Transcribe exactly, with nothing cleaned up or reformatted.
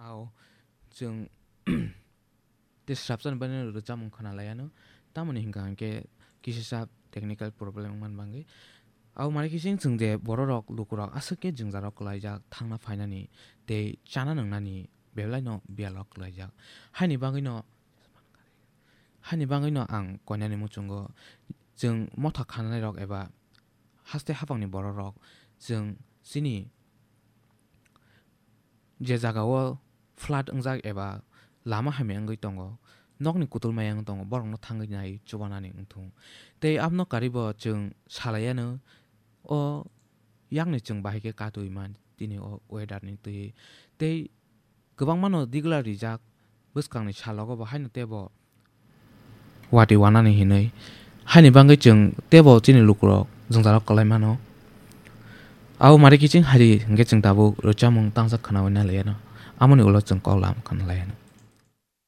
Ao chwng tei swrapsani bagwi rwchapmung khna lai anw. Tamoni hwnkha hwnkhe kisisa technical problem wngmani bagwi. Abo mare khe chwng, chwng je bororok, lukurok aswk khe jwngjarok kwlaijak thangna phainani tei chana nwngnani bebelaino biyalo kwlaijak. Haini bagwino, haini bagwino ang koinani muchungo chwng motha khananairok eba haste haphangni bororok chwng chini je jagao flood wngjak eba lama hamya wngwi tongo, nokni kutul maya wngwi tongo, borokno thangwi nai chubanani wngthung. Tei abono karibo chwng salaianw, o yakni chwng bahai khe katwi man tini o weather ni twi. Tei kwbangmano digla rijak bwskangni salogo bo haino teibo watwi wanani hinwi. Haini bagwi chwng teibo chini lukurok jwngjarok kwlai mano. Abo mare kiching hari hwnkhe chwng tabuk rwchapmung tangsa khnaui nai laiano. Amoni ulo chwng kok lam khna laiano.